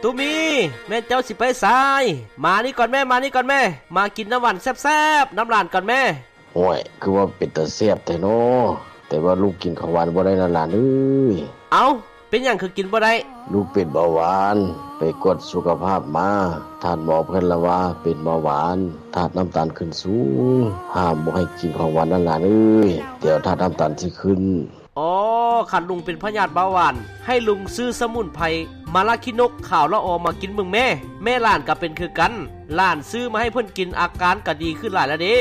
ຕຸມີ ແມ່ນເຈົ້າຊິໄປໃສ? ມານີ້ກ່ອນແມ້ ມານີ້ກ່ອນແມ້ ມາກິນນ້ຳຫວານແຊບໆນຳຫຼານກ່ອນແມ້. ໂອ້ຍ ຄືວ່າເປັນຕາແຊບແທ້ນໍ, ແຕ່ວ່າລູກກິນຂອງຫວານບໍ່ໄດ້ນະຫຼານເອີຍ. ເອົ້າ ເປັນຫຍັງຄືກິນບໍ່ໄດ້? ລູກເປັນເບົາຫວານ, ໄປກວດສຸຂະພາບມາ, ທ່ານໝໍເພິ່ນລະວ່າເປັນເບົາຫວານ, ທາດນ້ຳຕານຂຶ້ນສູງ, ຫ້າມບໍ່ໃຫ້ກິນຂອງຫວານນະຫຼານເອີຍ, ດຽວທາດນ້ຳຕານຊິຂຶ້ນ. ອໍ ຄັນລຸງເປັນພະຍາດເບົາຫວານ ໃຫ້ລຸງຊື້ສະໝຸນໄພມາລາຂີ້ນົກຂາວລະອໍມາກິນເບິ່ງແມ້. ແມ່ຫຼານກະເປັນຄືກັນ, ຫຼານຊື້ມາໃຫ້ເພິ່ນກິນ ອາການກະດີຂຶ້ນຫຼາຍລະເດ້.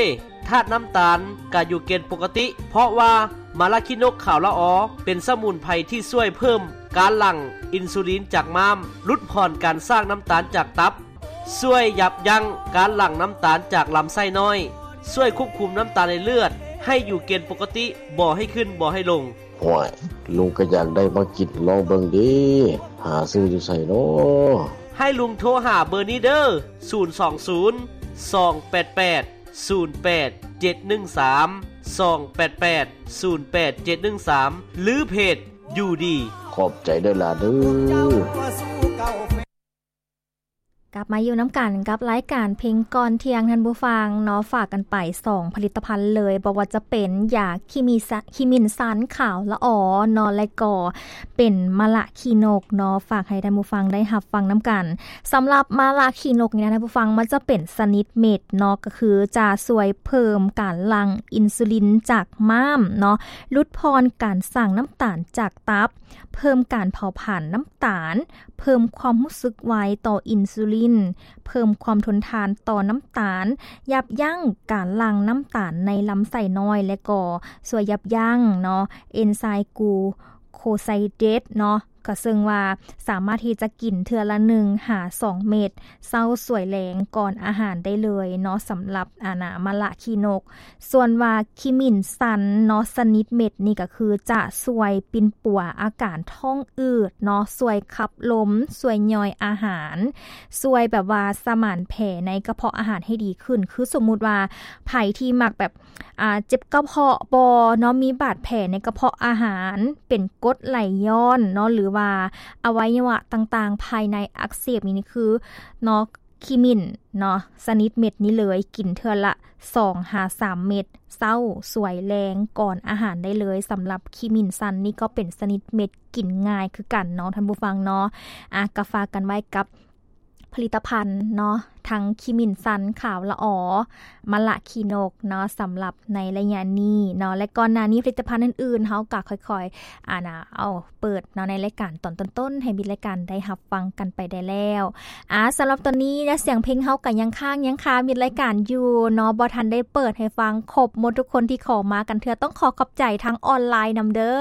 ທາດນ້ຳຕານກະຢູ່ເກນປົກກະຕິ ເພາະວ່າມາລາຂີ້ນົກຂາວລະອໍເປັນສະໝຸນໄພທີ່ຊ່ວຍເພີ່ມການຫຼັ່ງອິນຊູລິນຈາກມ້າມ, ຫຼຸດຜ່ອນການສ້າງນ້ຳຕານຈາກຕັບ, ຊ່ວຍຢັບຢັ້ງການຫຼັ່ງນ້ຳຕານຈາກລຳໄສ້ນ້ອຍ, ຊ່ວຍຄວບຄຸມນ້ຳຕານໃນເລືອດໃຫ້ຢູ່ເກນປົກກະຕິ, ບໍ່ໃຫ້ຂຶ້ນ ບໍ່ໃຫ້ລົງ. ໂອ້ຍ ລຸງກະຢາກໄດ້ມາກິນລອງເບິ່ງເດ, ຫາຊື້ຢູ່ໃສນໍ? ໃຫ້ລຸງໂທຫາເບີນີ້ເດີ, ສູນສອງສູນ ສອງແປດແປດ ສູນແປດເຈັດໜຶ່ງສາມ ສອງແປດແປດ ສູນແປດເຈັດໜຶ່ງສາມ ຫຼື ເພຈຢູ່ດີ. ຂອບໃຈເດີຫຼານເດີ. ກັບມາຢູ່ນຳກັນກັບລາຍການເພງກ່ອນທ່ຽງ ທ່ານຜູ້ຟັງເນາະ, ຝາກກັນໄປສອງຜະລິດຕະພັນເລີຍ, ບໍ່ວ່າຈະເປັນຢາຂີ້ມິສ- ຂີ້ມິ້ນຊັນຂາວລະອໍເນາະ ແລະກໍເປັນມະລະຂີ້ນົກເນາະ, ຝາກໃຫ້ທ່ານຜູ້ຟັງໄດ້ຮັບຟັງນຳກັນ. ສຳລັບມະລະຂີ້ນົກນີ້ນະ ທ່ານຜູ້ຟັງ, ມັນຈະເປັນຊະນິດເມັດເນາະ, ກໍຄືຈະຊ່ວຍເພີ່ມການຫຼັ່ງອິນຊູລິນຈາກມ້າມເນາະ, ຫຼຸດຜ່ອນການສ້າງນ້ຳຕານຈາກຕັບ, ເພີ່ມການເຜົາຜານນ້ຳຕານ, ເພີ່ມຄວາມຮູ້ສຶກໄວຕໍ່ອິນຊູລິນ, ເພີ່ມຄວາມທົນທານຕໍ່ນ້ຳຕານ, ຢັບຢັ້ງການຫຼັ່ງນ້ຳຕານໃນລຳໄສ້ນ້ອຍ ແລະກໍຊ່ວຍຢັບຢັ້ງເນາະ ເອັນໄຊກູໂຄໄຊເດດເນາະ, ກໍເຊິ່ງວ່າສາມາດທີ່ຈະກິນເທື່ອລະໜຶ່ງຫາສອງເມັດ ເຊົ້າສວຍແລງກ່ອນອາຫານໄດ້ເລີຍເນາະ, ສຳລັບ ອານາ ມະລະຂີ້ນົກ. ສ່ວນວ່າຂີ້ມິ້ນຊັນເນາະ ຊະນິດເມັດນີ້ກໍຄືຈະຊ່ວຍປິ່ນປົວອາການທ້ອງອືດເນາະ, ຊ່ວຍຂັບລົມ, ຊ່ວຍຍ່ອຍອາຫານ, ຊ່ວຍແບບວ່າສະໝານແຜໃນກະເພາະອາຫານໃຫ້ດີຂຶ້ນ. ຄືສົມມຸດວ່າໃຜທີ່ມັກແບບ ອ່າ ເຈັບກະເພາະບໍ່ເນາະ, ມີບາດແຜໃນກະເພາະອາຫານ, ເປັນກົດໄຫຼຍ້ອນເນາະ, ຫຼືວ່າອະໄວຍະວະຕ່າງໆພາຍໃນອັກເສບນີ້ ນີ້ຄືເນາະ ຂີ້ມິ້ນເນາະ ຊະນິດເມັດນີ້ເລີຍ, ກິນເທື່ອລະສອງຫາສາມເມັດ ເຊົ້າສວຍແລງກ່ອນອາຫານໄດ້ເລີຍ. ສຳລັບຂີ້ມິ້ນຊັນນີ້ກໍເປັນຊະນິດເມັດ ກິນງ່າຍຄືກັນເນາະ ທ່ານຜູ້ຟັງເນາະ. ອາ ກໍຝາກກັນໄວ້ກັບ ຜະລິດຕະພັນເນາະ ທັງຂີ້ມິ້ນຊັນຂາວລະອໍ, ມະລະຂີ້ນົກເນາະ ສຳລັບໃນໄລຍະນີ້ເນາະ ແລະ ກ່ອນໜ້ານີ້ຜະລິດຕະພັນອື່ນໆ ເຮົາກໍຄ່ອຍໆ ອານາ ເອົາເປີດເນາະ ໃນລາຍການຕອນຕົ້ນໆ ໃຫ້ມິດລາຍການໄດ້ຮັບຟັງກັນໄປໄດ້ແລ້ວ. ອາ ສຳລັບຕອນນີ້ນະ ສຽງເພງເຮົາກໍຍັງຄ້າງຍັງຄາມິດລາຍການຢູ່ເນາະ, ບໍ່ທັນໄດ້ເປີດໃຫ້ຟັງຄົບໝົດທຸກຄົນທີ່ຂໍມາກັນເທື່ອ. ຕ້ອງຂໍຂອບໃຈທາງອອນລາຍນຳເດີ.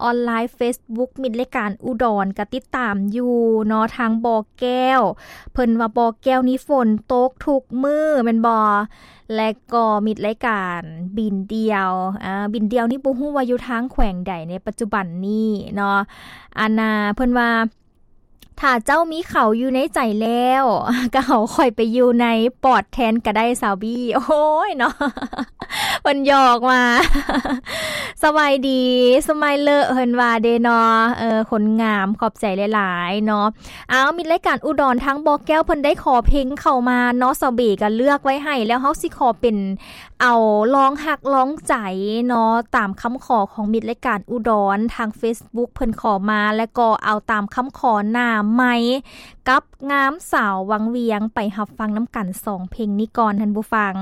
ອອນລາຍ ເຟສບຸກ ມິດລາຍການອຸດອນ ກໍຕິດຕາມຢູ່ເນາະ ທາງບໍ່ແກ້ວ. ເພິ່ນວ່າບໍ່ແກ້ວນີ້ຝົນຕົກທຸກມື້ແມ່ນບໍ່? ແລະກໍມິດລາຍການບິນດ່ຽວ, ອາ ບິນດ່ຽວນີ້ບໍ່ຮູ້ວ່າຢູ່ທາງແຂວງໃດໃນປັດຈຸບັນນີ້ເນາະ. ອານາ ເພິ່ນວ່າ ຖ້າເຈົ້າມີເຂົາຢູ່ໃນໃຈແລ້ວ ກໍເອົາຂ້ອຍໄປຢູ່ໃນປອດແທນກໍໄດ້ ສາວບີ. ໂອ້ຍເນາະ ເພິ່ນຫຍອກມາ. ສະບາຍດີ ສະມາຍເລີ ເພິ່ນວ່າເດເນາະ. ເອີ ຄົນງາມ ຂອບໃຈຫຼາຍໆເນາະ. ເອົາ ມິດລາຍການອຸດອນ ທາງບໍ່ແກ້ວ ເພິ່ນໄດ້ຂໍເພງເຂົ້າມາເນາະ, ສາວບີກໍເລືອກໄວ້ໃຫ້ແລ້ວ. ເຮົາຊິຂໍເປັນ ເອົາລອງຮັກລອງໃຈເນາະ ຕາມຄຳຂໍຂອງມິດລາຍການອຸດອນ ທາງເຟສບຸກເພິ່ນຂໍມາ ແລະກໍເອົາຕາມຄຳຂໍໜ້າໄມກັບງາມສາວວັງວຽງ ໄປຮັບຟັງນຳກັນສອງເພງນີ້ກ່ອນ ທ່ານຜູ້ຟັງ.